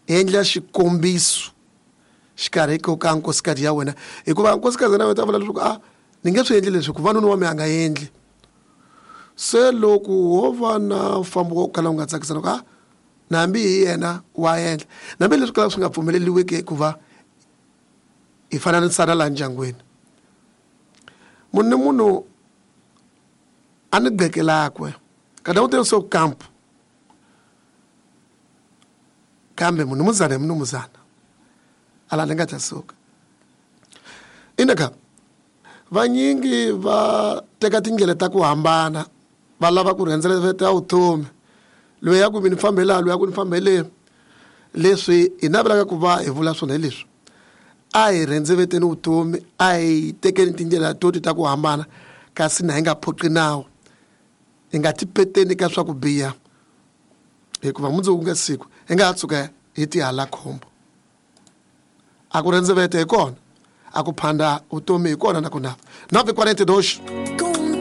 Endla xikombiso xikarhi ko ka nkosikazi ya wena, hikuva nkosikazi na wena ta vula leswaku a ni nge swi endli leswi hikuva nuna wa mina a nga endli. Se loko wo va na mfambo wo kala wu nga tsakisana ku a na hambi hi yena wa endla, na hambi leswi kala swi nga pfumeleriwiki hikuva hi fananisana laha ndyangwini. Munhu ni munhu a ni gqekelakwe kada u so kampu, kambe munumuzana hi munumuzana ala ni nga ta suka. Ina ka vanyingi va teka tindlela ta ku hambana, va lava ku rhendzeleta vutomi, loyi ya ku mi ni fambe laha, loyi ya ku ni fambe le. Leswi hi navelaka ku va hi vula swona hi leswi, a hi rhendzeveteni vutomi, a hi tekeni tindlela to ta ku hambana, kasi na hi nga phoqi nawu, hi nga tipeteni ka swa ku biha, hikuva mundzuku nga siku hi nga ha tshuka hi tihala khombo. A ku rendzevete hi kona, a ku phanda vutomi hi kona na ku nava 9:42.